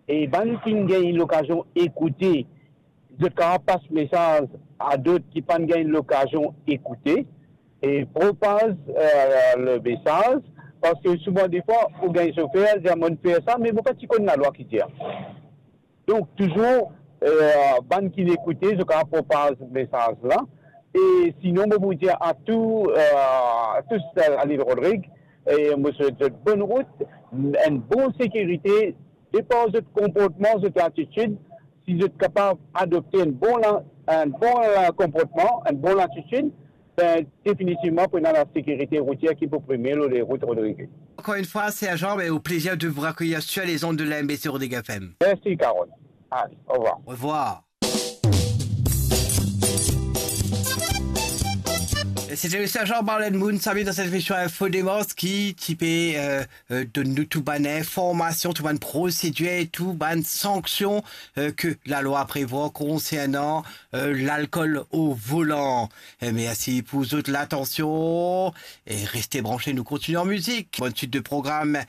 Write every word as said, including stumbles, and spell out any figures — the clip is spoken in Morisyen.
E bann ki gagn lokazion ekoute, zot kapav pas mesaz a dot ki pa'nn gagn lokazion ekoute, e propaz, euh, le mesaz, parski souvan defwa, ou gagn sofer, dir, "Mo fer sa, me mo pa ti konn lalwa ki dir." Donk, touzour, euh, bann ki ekoute, zot kapav propaz mesaz la. E sinon, mo pou dir a tou, euh, a tou, euh, a lil Rodrig, e mo swet zot bonn rout, enn bon sekirite, depi zot konportman, zot latitid, si zot kapav adopte enn bon la-, enn bon, euh, konportman, enn bon latitid, ben, definitivman, pou ena lasekirite routier ki pou prime lor lerout Rodrig. Encore une fois, sergent, mais au plaisir de vous accueillir sur les ondes de la M B C Rodrigues F M. Merci, Carole. Allez, au revoir. Au revoir. E sete le sergent Marlène Moon, sami, dan set emision Info Demars ki ti pe, euh, euh, donn nou tou bann informasion, tou bann prosedir, tou bann sanksion, euh, ke lalwa prevwar konsernan, euh, lalkol o volan. E mersi pou zot latansion e reste branche, nou kontinie an mizik. Bonn swit de program.